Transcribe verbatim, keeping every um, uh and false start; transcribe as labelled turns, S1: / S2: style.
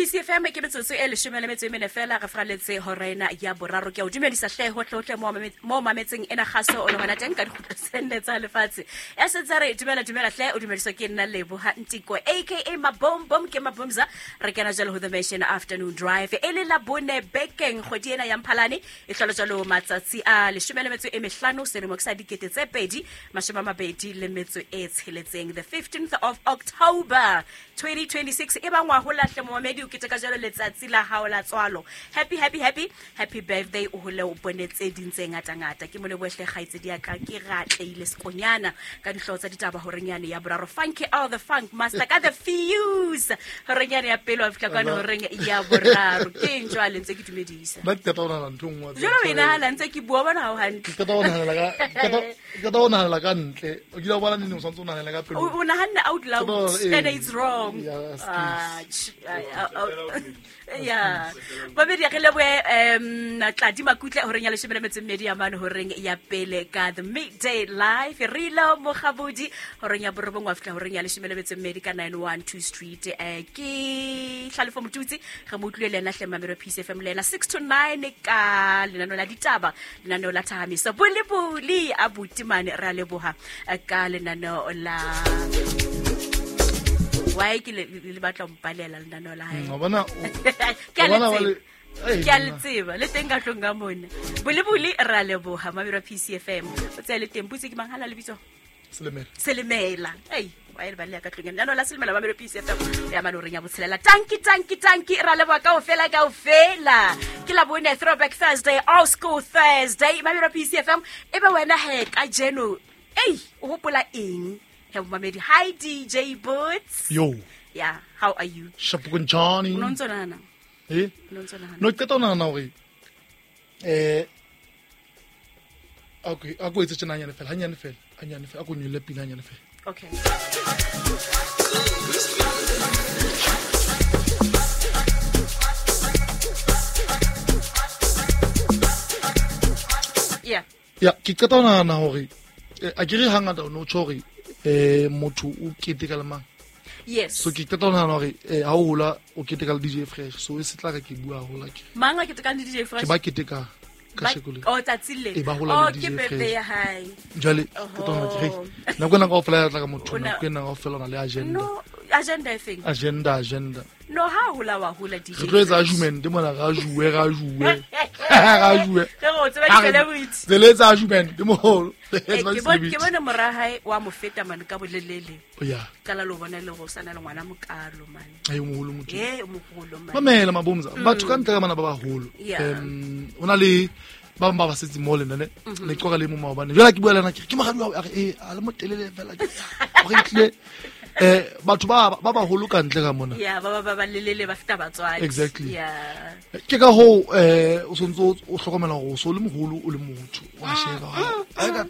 S1: P C F M ke metsotso e leshome le metso e mene fela re fraletse horena ya boraro ke o dumedisa hle hohle mo mo mametseng ena kgaso o le hona teng ka dikgutlo tse nne tsa lefatshe. Ya sentse re dumela dumela hle o dumediswa ke nna Leboha Ntiko aka Mabom Bom ke Mabomza re kena jalo ho the Mission Afternoon Drive e le la bone bekeng kgwedi ena ya Mphalane e hlolo jalo matsatsi a leshome le metso e mehlano selemo ke sa dikete tse pedi mashome a mabedi le metso e tsheletseng the fifteenth of October twenty twenty-six e bangwa ho lahle momamedi o keteka jalo letsatsi la hao la tswalo. Happy happy happy happy birthday o hole o bonetse ding tse ngata ngata ke mole bohle kgaitse di ka ke ratleile sekonyana ka dihlooho tsa ditaba horenyane ya boraro funky all the funk master ka the fuse horenyane ya pelo a fihla kwana horeng ya boraro ke eng jwale ntse ke dumedisa
S2: ba ke tata ona ntho nngwe
S1: jalo wena hala ntse ke bua bona ha o hantle
S2: ke tata ona hala ka ke tata ona hala ka ntle o kile wa bona neng o santse o nahana ka pelo
S1: o nahanne out loud and it's wrong. Ah yeah babedi re leboe um Tladi Makutle horeng ya leshome le metso e mmedi ya mane horeng ya pele ka the midday live re lo mogabodi horeng ya borobong wa fihla horeng ya leshome le metso e mmedi ka nine one two street eh ke Hlalefo Motutsi re mo utlwile le ena hle Mamelo P C F M le ena six to nine ka lenaneo la ditaba lenaneo la thahamiso bolebuli abuti mane re a leboha ka lenaneo la why ke le batla mpalela lenaneo la hae
S2: no bona
S1: ke a le tseba le teng ka tlong ka mona bolebuli re a leboha Mamelo P C F M o tsaya le teng putse ke mang hala lebitso
S2: Selemela
S1: Selemela ei wa e ba le ka tlong lenaneo la Selemela Mamelo P C F M ya mane o reng ya botshelela tanki tanki tanki ra leboha kaofela kaofela ke la bone Throwback Thursday Old School Thursday Mamelo P C F M e be wena he ka jeno ei o hopola eng he mamedi. Hi D J Boots.
S2: Yo.
S1: Yeah, how are you?
S2: Shapukun Johnny.
S1: No ntse nana.
S2: Eh?
S1: No ntse nana.
S2: No ke tona nana hore eh okay, a go etse tjena nyane fela, hanyane fela, hanyane fela, a go nyole pina hanyane fela.
S1: Okay. Yeah.
S2: Yeah, ke qeta ho nahana hore a ke re hangata o no tjho hore eh motho o keteka le mang.
S1: Yes.
S2: So ke qeta ho nahana hore eh ha o hola o keteka le D J Fresh so e se tla ka ke bua hola ke.
S1: Mang a keteka le D J Fresh?
S2: Ke ba keteka ka shekole.
S1: Oh tsatsi le. Oh ke birthday ya hae.
S2: Jwale ke tona ke re nako ena kaofela ya tla ka motho nako ena kaofela na le agenda.
S1: No, agenda e feng?
S2: Agenda agenda.
S1: No ha hola wa hola D J.
S2: Re tlo etsa argument mona ra juwe ra juwe. Ra juwe.
S1: Re go tseba di celebrity.
S2: Re letsa argument mo.
S1: Ke bona ke bona mora hae wa mo feta man ka bolelele.
S2: Yeah.
S1: Kala lo bona le go sana le ngwana mokalo man.
S2: Ai moholo motho.
S1: Eh moholo man.
S2: Mamela Mabomza batho ka ntle ka bana ba baholo. Um ona le ba ba ba setse mo le nne le qoga le mo maobane. Jwale ke bua le nna ke ke moradi wa a re eh a le motelele fela ke gore tlile eh batho ba ba baholo ka ntle ka mona.
S1: Yeah ba ba ba lelele ba feta batswadi.
S2: Exactly.
S1: Yeah.
S2: Ke ka ho eh o sontso o hlokomela hore o so le moholo o le motho wa sheba. A ka